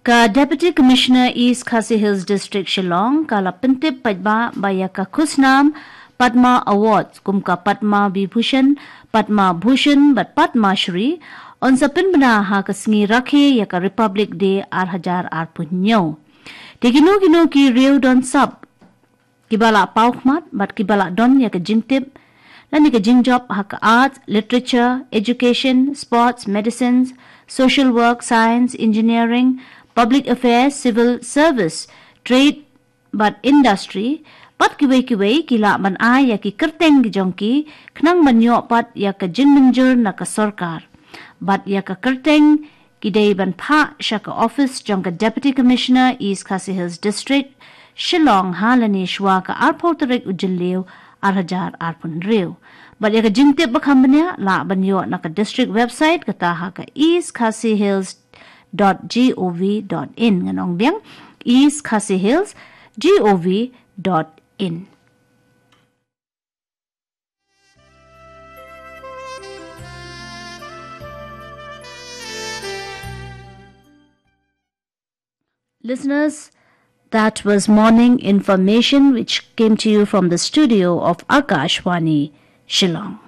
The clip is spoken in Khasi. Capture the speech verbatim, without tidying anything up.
Ka Deputy Commissioner East Khasi Hills District Shillong ka la pyntip paidbah ba ïa ka khusnam Padma Awards kum ka Padma Vibhushan, Padma Bhushan bad Padma Shri yn sa pynbna ha ka sngi rakhe ïa ka Republic Day ar hajar arphew hynñiew. Te kino kino ki riew don sap kiba la paw khmat bad kiba la don ïa ka jingtip lane ka jingjop ha ka arts, literature, education, sports, medicines, social work, science, engineering, public affairs, civil service, trade bad industry bad kiwei kiwei ki lah ban ai ïa ki kyrteng ki jong ki khnang ban ïoh pat ïa ka jingmynjur na ka sorkar. Bad ïa ka kyrteng ki dei ban phah sha ka office jong ka Deputy Commissioner East Khasi Hills District Shillong ha lane shuwa ka arphew tarik u Jylliew ar hajar arphew hynriew. Bad ïa ka jingtip ba kham bniah lah ban ïoh na ka district website kata ha ka east khasi hills dot gov dot in. Ngan ong biang, east khasi hills dot gov dot in. Listeners, that was morning information which came to you from the studio of Akashvani, Shillong.